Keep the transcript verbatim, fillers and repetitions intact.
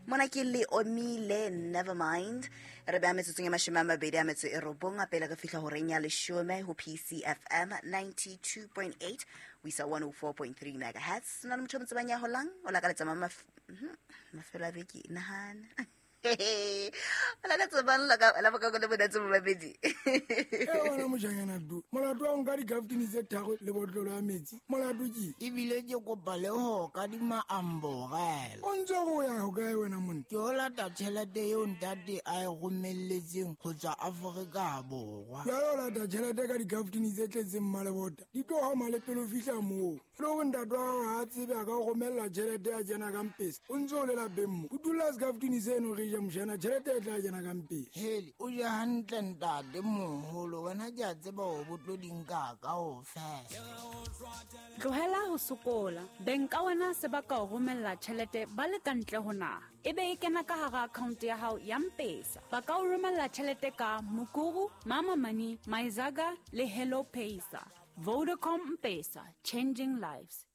Mona ke le omile nevermind. Re beha metsotsong e mashome a mabedi a metso e robong a pele re fihla horeng ya leshome ho P C F M ninety-two point eight ho isa one oh four point three megahertz. Na le motho o mo tsebang ya holang? O lakaletsa mama mafelo a beke, nahana. O lakaletsa mang la ka- la bokako le monate bo babedi? E wena mojanyana du, molato wa ho nka dikaftini tse tharo le botlolo ya metsi, molato ke? Ebile ke kopa le ho kadima amborela. O ntse o ya hokae wena monna? Ke o lata tjhelete eo ntate a e romelletseng ho tswa Afrika Borwa. Jwale o lata tjhelete ka dikaftini tse tletseng mmalebota, di tlo hama le pele o fihla moo. E le hore ntate wa hao ha a tsebe a ka o romella tjhelete ya kena ka mpesa, o ntse o le lapeng mo. O dula sekaftini seno re ja mojana, tjhelete e tla kena ka mpesa. Hele, o je hantle ntate moholo, wena ke a tseba hore bo tlo di nka kaofela. Tlohela ho sokola. Beng ka wena se ba ka o romella tjhelete ba le ka ntle ho naha. E be e kena ka hara account ya hao ya M-Pesa. Ba ka o romella tjhelete ka Mukuru, Mama Money, Myzaga le Hello Pesa. Vodacom M-Pesa, changing lives.